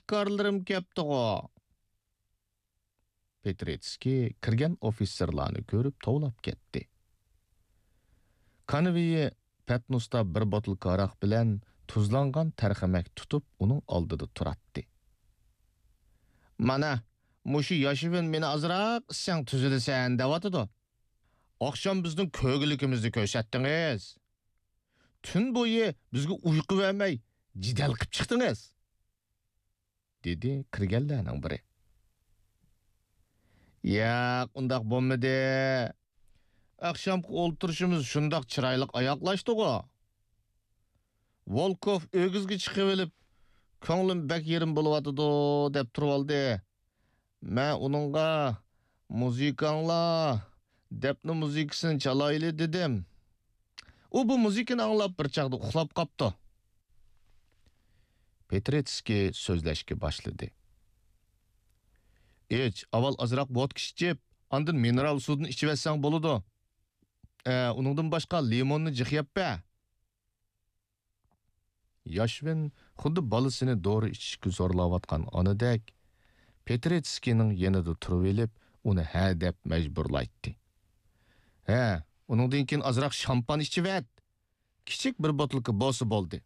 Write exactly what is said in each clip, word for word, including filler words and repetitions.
خىزمەتكارلىرىم كەپتىغۇ. پېترېتسكىي كىرگەن ئوفىتسېرلارنى كۆرۈپ توۋلاپ كەتتى. كانۋېيى پەتنۇستا بىر بوتۇلكا ھاراق بىلەن تۇزلانغان تەرخەمەك تۇتۇپ ئۇنىڭ ئالدىدا تۇراتتى. مانا، مۇشۇ ياشىۋىن مېنى ئازراق ئىچسەڭ تۈزىلىسەن دەۋاتىدۇ. ئاخشام بىزنىڭ كۆرگۈلۈكىمىزنى كۆرسەتتىڭىز. تۈن بويى بىزگە ئۇيقۇ بەرمەي جېدەل قىپ چىقتىڭىز. دېدى كىرگەنلەرنىڭ بىرى. ياق، ئۇنداق بولمىدى. ئاخشامقى ئولتۇرۇشىمىز شۇنداق چىرايلىق ئاياغلاشتىغۇ. ۋولكوف ئۆگزىگە چىقىۋېلىپ، كۆڭلۈم بەك يېرىم بولۇۋاتىدۇ، دەپ تۇرۇۋالدى. مەن ئۇنىڭغا، مۇزىكاڭلار، دەپنە مۇزىكىسىنى چالايلى، دېدىم. ئۇ بۇ مۇزىكىنى ئاڭلاپ بىر چاغدا ئۇخلاپ قاپتۇ. پېترېتسكىي سۆزلەشكە باشلىدى. ئىچ، ئاۋۋال ئازراق ۋودكا ئىچىپ، ئاندىن مىنېرال سۇدىن ئىچىۋەتسەڭ بولىدۇ. ئە، ئۇنىڭدىن باشقا لىموننى جىق يەپ بەر. ياشۋىن خۇددى بالىسىنى دورا ئىچىشكە زورلاۋاتقان ئانىدەك، پېترېتسكىينىڭ يېنىدا تۇرۇۋېلىپ، ئۇنى ھە دەپ مەجبۇرلايتتى. ھە، ئۇنىڭدىن كېيىن ئازراق شامپان ئىچىۋەت. كىچىك بىر بوتۇلكا بولسا بولدى.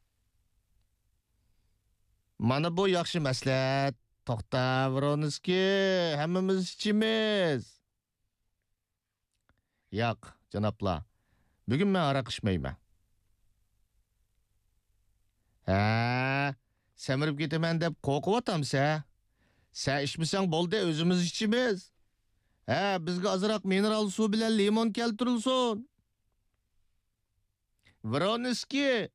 مانا بۇ ياخشى مەسلىھەت. توختا، ۋرونسكىي، ھەممىمىز ئىچىمىز. ياق، جانابلار، بۈگۈن مەن ھاراق ئىچمەيمەن. ھە، سەمرىپ كېتىمەن دەپ قورقۇۋاتامسەن؟ سەن ئىچمىسەڭ بولدى، ئۆزىمىز ئىچىمىز. ھە، بىزگە ئازراق مىنېرال سۇ بىلەن لىمون كەلتۈرۈلسۇن. ۋرونسكىي!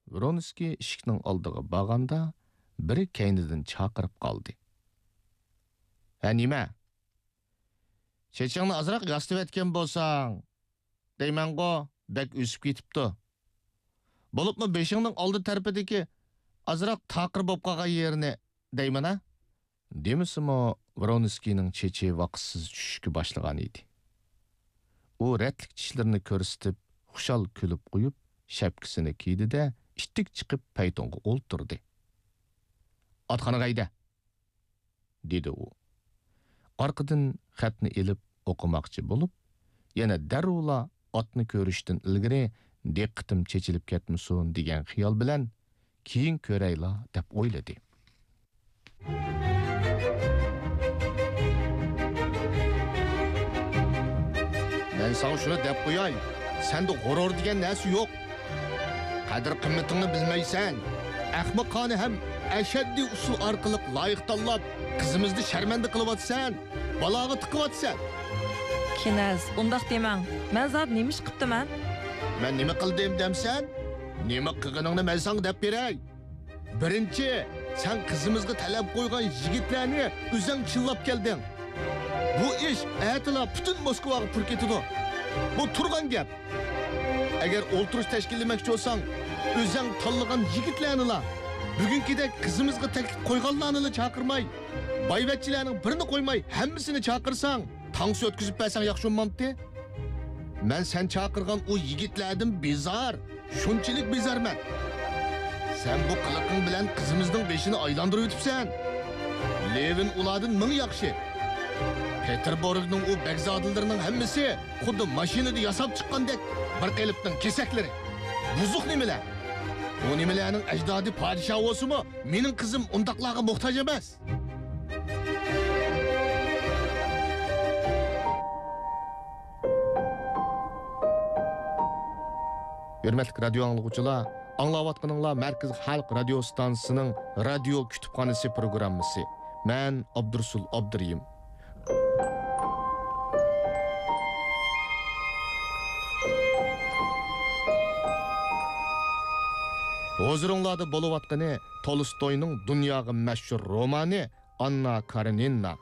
ۋرونسكىي ئىشىكنىڭ ئالدىغا بارغاندا، بىرى كەينىدىن چاقىرىپ قالدى. ھە، نېمە؟ چېچىڭنى ئازراق ياسىتىۋەتكەن بولساڭ، دەيمەنغۇ، بەك ئۆسۈپ كېتىپتۇ. بولۇپمۇ بېشىڭنىڭ ئالدى تەرىپىدىكى ئازراق تاقىر بولۇپ قالغان يېرىنى دەيمەن-ھە. دېمىسىمۇ، ۋرونسكىينىڭ چېچى ۋاقىتسىز چۈشۈشكە باشلىغان ئىدى. ئۇ رەتلىك چىشلىرىنى كۆرسىتىپ، خۇشال كۈلۈپ قويۇپ، شەپكىسىنى كىيدى-دە، ئىتتىك چىقىپ پەيتۇنغا ئولتۇردى. ئاتخانىغا ھەيدە! دېدى ئۇ. ئارقىدىن خەتنى ئېلىپ ئوقۇماقچى بولۇپ، يەنە دەررۇلا ئاتنى كۆرۈشتىن ئىلگىرى دىققىتىم چېچىلىپ كەتمىسۇن دېگەن خىيال بىلەن، كېيىن كۆرەيلا دەپ ئويلىدى. مەن ساڭا شۇنى دەپ قوياي، سەندە غۇرۇر دېگەن نەرسە يوق. قەدىر-قىممىتىڭنى بىلمەيسەن. ئەخمىقانە ھەم ئەشەددىي ئۇسۇل ئارقىلىق لايىق تاللاپ، قىزىمىزنى شەرمەندە قىلىۋاتىسەن، بالاغا تىقىۋاتىسەن. كىنەز، ئۇنداق دېمەڭ. مەن زادى نېمە ئىش قىپتىمەن؟ مەن نېمە قىلدىم دەمسەن؟ نېمە قىلغىنىڭنى مەن ساڭا دەپ بېرەي. بىرىنچى، سەن قىزىمىزغا تەلەپ قويغان يىگىتلەرنى ئۆزەڭ چىللاپ كەلدىڭ. بۇ ئىش ئەتىلا پۈتۈن موسكۋاغا پۇر كېتىدۇ. بۇ تۇرغان گەپ. ئەگەر ئولتۇرۇش تەشكىللىمەكچى بولساڭ، ئۆزەڭ تاللىغان يىگىتلەرنىلا، بۈگۈنكىدەك قىزىمىزغا تەكلىپ قويغانلارنىلا چاقىرماي، بايۋەچچىلەرنىڭ بىرىنى قويماي ھەممىسىنى چاقىرساڭ، تانسا ئۆتكۈزۈپ بەرسەڭ ياخشى بولمامتى؟ مەن سەن چاقىرغان ئۇ يىگىتلەردىن بىزار، شۇنچىلىك بىزارمەن. سەن بۇ قىلىقىڭ بىلەن قىزىمىزنىڭ بېشىنى ئايلاندۇرۇۋېتىپسەن. لېۋىن ئۇلاردىن مىڭ ياخشى. پېتېربۇرگنىڭ ئۇ بەگزادىلىرىنىڭ ھەممىسى خۇددى ماشىنىدا ياساپ چىققاندەك بىر قېلىپنىڭ كېسەكلىرى. بۇزۇق نېمىلەر؟ ئۇ نېمىلەرنىڭ ئەجدادى پادىشاھ بولسىمۇ، مېنىڭ قىزىم ئۇنداقلارغا موھتاج ئەمەس. ھۆرمەتلىك رادىيو ئاڭلىغۇچىلار، ئاڭلاۋاتقىنىڭلار مەركىزىي خەلق رادىيو ئىستانسىسىنىڭ رادىيو كۇتۇپخانىسى پروگراممىسى. مەن ئابدۇرۇسۇل ئابدۇرېھىم. ھۇزۇرۇڭلاردا بولۇۋاتقىنى تولستوينىڭ دۇنياغا مەشھۇر رومانى ئاننا كارېنىنا.